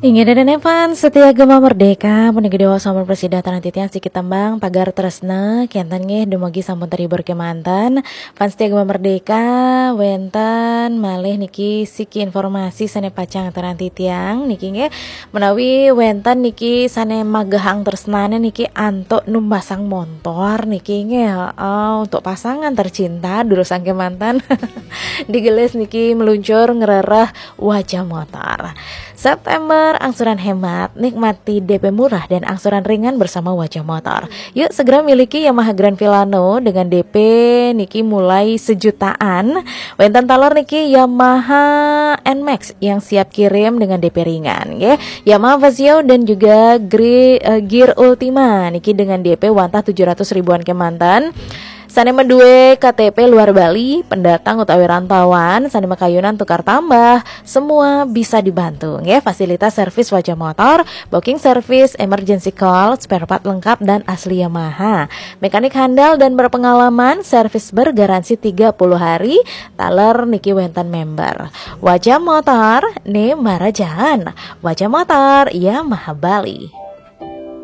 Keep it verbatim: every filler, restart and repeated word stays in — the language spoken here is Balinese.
Inggih dadan fans setia Gema Merdeka, puniki dewa sampun prasida taran titiang siki tembang Pagar Tresna, kenten nggih dumugi sampun terhibur kemanten. Fans setia Gema Merdeka, wenten malih niki siki informasi sane pacang taran titiang niki nggih, menawi wenten niki sane magehang tresnane niki antuk numbasang montor niki nggih, heeh, untuk pasangan tercinta durusang kemanten. Digelis niki meluncur ngrereh Wajah Motor. September, angsuran hemat, nikmati D P murah dan angsuran ringan bersama Wajah Motor. Yuk segera miliki Yamaha Grand Filano dengan D P niki mulai sejutaan. Wenten taler niki Yamaha N-Max yang siap kirim dengan D P ringan, nggih. Yamaha Fazzio dan juga Gre- eh, Gear Ultima niki dengan D P wantah tujuh ratus ribuan kemanten. Sane madue K T P luar Bali, pendatang utawi rantauan, sane makayunan tukar tambah, semua bisa dibantu, nggih. Fasilitas servis Wajah Motor, booking service, emergency call, spare part lengkap dan asli Yamaha. Mekanik handal dan berpengalaman, servis bergaransi tiga puluh hari. Taler niki wenten member. Wajah Motor, ne marajan. Wajah Motor, Yamaha Bali.